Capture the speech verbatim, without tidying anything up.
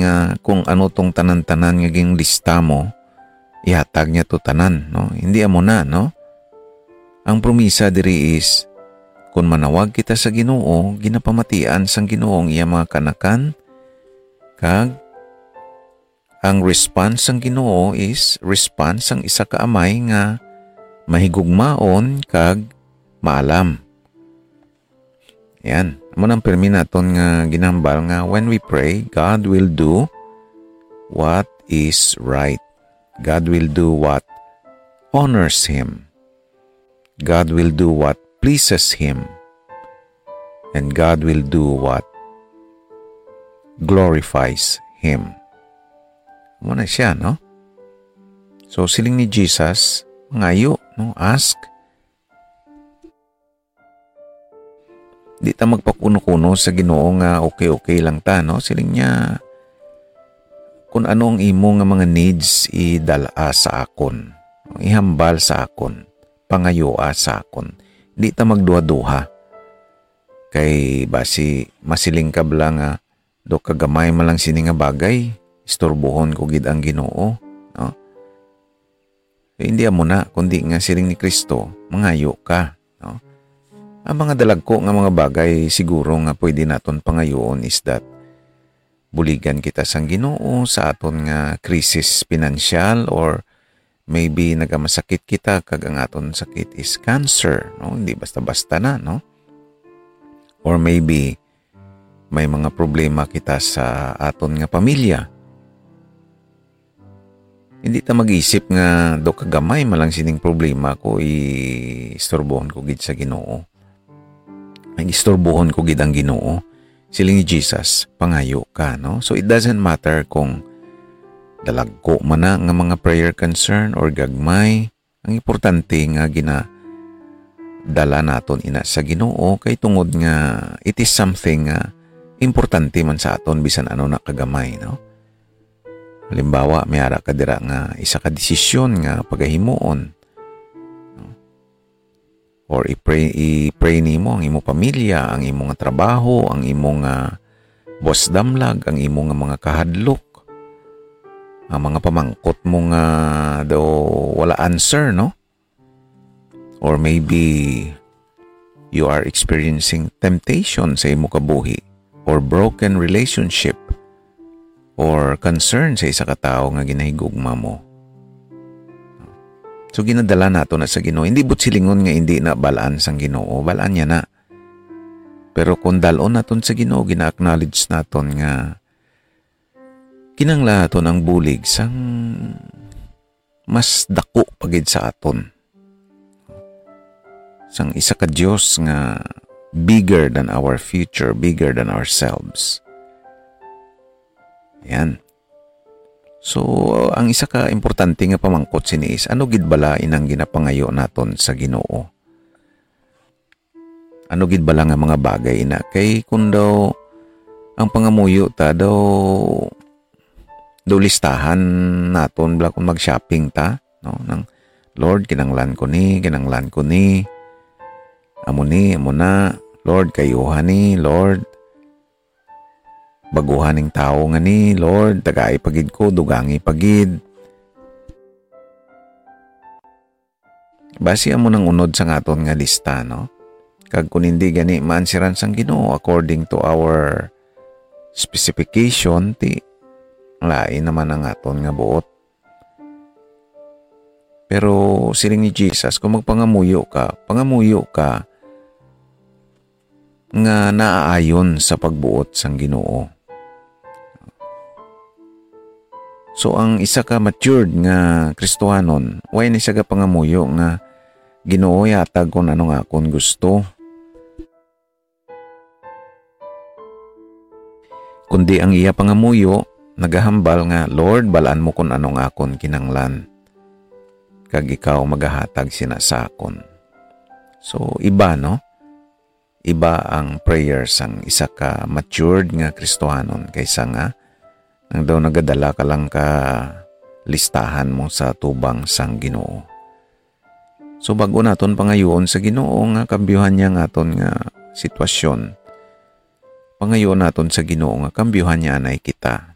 nga kung ano tong tanan-tanan nga ginlista mo, ihatag niya to tanan, no? Hindi amo na, no? Ang promisa diri is, kung manawag kita sa Ginoo, ginapamatian sang Ginoo ang iya mga kanakan, kag ang response sang Ginoo is response sang isa ka amay nga mahigugmaon kag maalam. Yan. Amo nang pirmi naton nga ginhambal nga when we pray, God will do what is right. God will do what honors Him. God will do what pleases Him. And God will do what glorifies Him. Amo na siya, no? So, siling ni Jesus, mangayo, no? Ask. Di ta magpakuno-kuno sa Ginoo nga okay-okay lang ta, no? Siling niya, "Kung ano ang imo nga mga needs, idala sa akon. Ihambal sa akon. Pangayua sa akon." Di ta magduha-duha. Kay basi masiling ka bala nga, "Do kagamay man lang sini nga bagay, istorbohon ko gid ang Ginoo," no? Eh, hindi amo na, kundi nga siling ni Kristo, mangayo ka, no? Ang mga dalagko nga mga bagay siguro nga pwede naton pangayoon is that buligan kita sang Ginoo sa aton nga krisis pinansyal, or maybe nagamasakit kita kag ang aton sakit is cancer, no? Hindi basta-basta na, no? Or maybe may mga problema kita sa aton nga pamilya. Hindi ta mag-isip nga, "Do kagamay man lang sining problema ko, istorbohon ko gid sa Ginoo. Ay, istorbohon ko gid ang Ginoo." Siling ni Jesus, "Pangayo ka," no? So, it doesn't matter kung dalagko man na nga mga prayer concern or gagmay. Ang importante nga ginadala naton ina sa Ginoo kay tungod nga it is something nga importante man sa aton, bisan ano na kagamay, no? Halimbawa, may ara ka dira nga isa ka desisyon nga pagahimuon, no? Or i-pray, i-pray nimo ang imo pamilya, ang imo nga trabaho, ang imo nga buwas damlag, ang imo nga mga kahadlok, ang mga pamangkot mo nga daw wala answer, no? Or maybe you are experiencing temptation sa imo kabuhi, or broken relationship, or concern sa isa ka tawo nga ginahigugma mo. So, ginadala nato na sa Ginoo. Hindi buot silingon nga hindi na balaan sang Ginoo. Balaan niya na. Pero kung dalon naton sa Ginoo, gina-acknowledge naton nga kinahanglan naton ang bulig sang mas dako pa gid sa aton, sang isa ka Dios nga bigger than our future, bigger than ourselves. Yan. So, ang isa ka importante nga pamangkot sini is, ano gid bala inang ginapangayo naton sa Ginoo? Ano gid bala nga mga bagay ina? Kay kung daw ang pangamuyo ta daw, daw listahan naton bala kung mag-shopping ta, no? Nang, "Lord, kinanglan ko ni, kinanglan ko ni. Amo ni, amo na. Lord, kayuha ni, Lord. Baguhan ning tawo nga ni, Lord, tagai pa gid ko, dugangi pa gid." Basi amo nang unod sang aton nga lista, no? Kag kun hindi gani maansiran sang Ginoo according to our specification, ti lain naman ang aton nga buot. Pero siling ni Jesus, kung magpangamuyo ka, pangamuyo ka nga naaayon sa pagbuot sang Ginoo. So, ang isa ka matured nga Kristohanon, way ni siya gapangamuyo nga, "Ginoo, ihatag kon ano nga akon gusto." Kundi ang iya pangamuyo, nagahambal nga, "Lord, balaan mo kon ano nga akon kinanglan, kag ikaw magahatag sina sa akon." So, iba, no? Iba ang prayer sang isa ka matured nga Kristohanon kaysa nga ang daw nagadala ka lang ka listahan mo sa tubang sang Ginoo. So, bag-o naton pangayuon sa Ginoo nga kambyuhan niya ang aton nga sitwasyon, pangayuon naton sa Ginoo nga kambyuhan niya anay kita.